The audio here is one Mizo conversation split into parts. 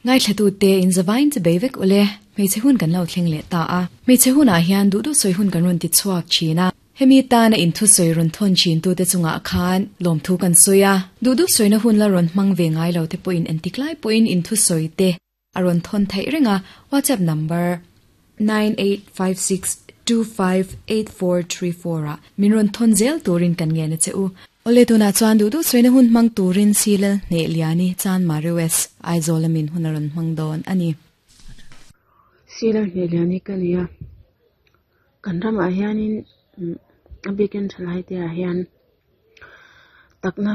Ngaithlatute in zavain chi bei vek ule, hmeichhe hun kan lo thleng leh ta a. Hmeichhe hunah hian duh duh sawi hun kan rawn ti chhuak thin a. Hemi tana inthu sawi rawn thawn thin tute chungah khan lawmthu kan sawi a. Duh duh sawina hun la rawn hmang ve ngai lo te pawhin entik lai pawhin inthu sawi te a rawn thawn theih reng a, WhatsApp number 9856258434 ah min rawn thawn zel turin kan ngen a che u. Awle tunah chuan duh duh sawina hun hmang turin Silal Hneh Liani Chan Mari West Aizawl a min hun a rawn hmang dawn a ni. Silal Hneh Liani ka ni a, kan ramah hianin a bikin thalai te ah hian takna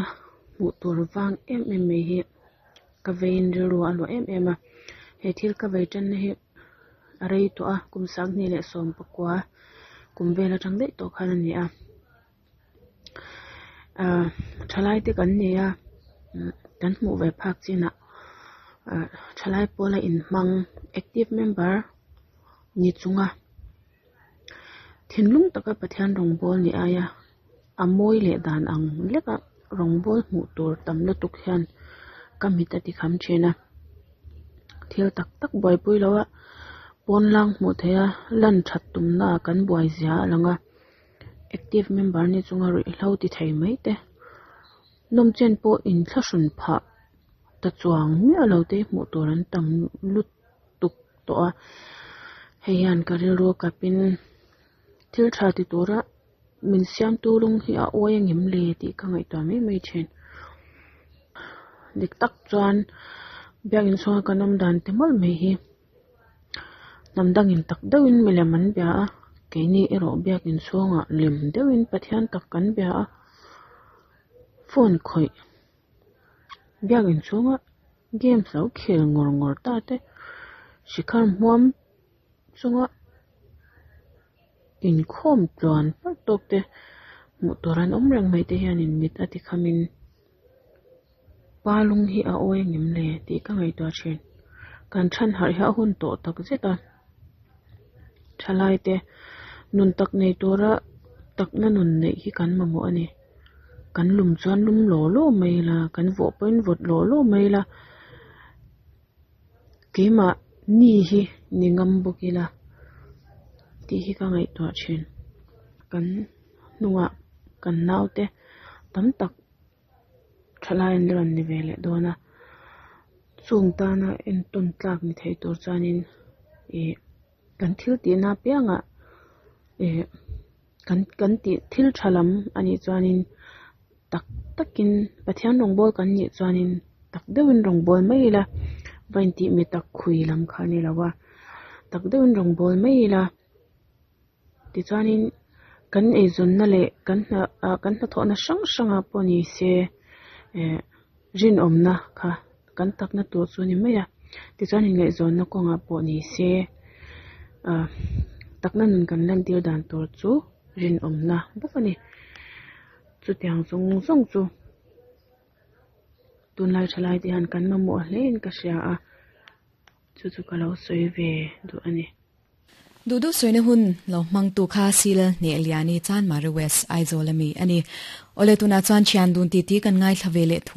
hmuh tur vang em em mai hi ka veiin rilru a luah em em a, he thil ka vei tanna hi a rei tawh a, kum sanghnih leh sawm pakua kum vel atang daih tawh khan a ni a, ahh thalai te kan ni a kan hmuh ve phak chinah ahh thalai pawla inhmang active member ni chunga thinlung taka Pathian rawngbâwl ni aia a mawi leh dan ang leka rawngbâwl hmuh tur tam lutuk hian ka mit a ti kham thin a thil tak tak buaipui lo a pawn lang hmuh theih a lan that tumna ah kan buai zia a lang a active member ni chunga ruihhlo ti thei mai te nawm chen pawh inthlahrun phah ta chuang miah lo te hmuh tur an tam lutuk tawh a hei hian ka rilru a kapin thil tha ti tura min siamtu lung hi a awi a ngem le tih ka ngaihtuah mai mai thin dik tak chuan biakin chhunga kan awm dan te mawlh mai hi hnam dangin tak deuhin milem an bia a keini erawh biakin chhungah lem deuhin Pathian tak kan bia a phone khawih. Biakin chhunga games lo khel ngawr ngawr ta te shikhar hmuam chunga inkhawm tluan parh tawk te hmuh tur an awm reng mai te hianin mit a ti khamin pa lung hi a awi angem le tih ka ngaihtuah thin kan chhan harh hi a hun tawh tak zet a thalai te nun tak nei tura takna nun neih hi kan mamawh a ni. Kan lum chuan lum law law mai ila kan vawh pawhin vawt law law mai ila keimah ni hi ni ngam bawk ila tih hi ka ngaihtuah thin kan hnungah kan naute tam tak thalai an la rawn ni ve leh dawn a chung tana entawn tlak ni thei tur chuanin ih kan thil tihna apiangah ih. Kan kan tih thil tha lam a nih chuanin tak takin Pathian rawngbâwl kan nih chuanin tak deuhin rawngbâwl mai ila va intih mi tak khui lam kha a ni lo a tak deuhin rawngbâwl mai ila tichuanin kan eizawnna leh kan hna ah kan hnathawhna hrang hrangah pawh ni se eh rinawmna kha kan takna tur chu a ni mai a tichuan inngaihzawnna kawngah pawh ni se ah takna nun kan lantir dan tur chu rinawmna bawk a ni chutiang zawng zawng chu tunlai thalai te hian kan mamawh hle in ka hria a chu chu ka lo sawi ve duh a ni. Duh duh sawina hun lo hmangtu kha Silal Hneh Liani Chanmari West Aizawl ami a ni. Awle tunah chuan thian dun titi kan ngaithla ve leh thung.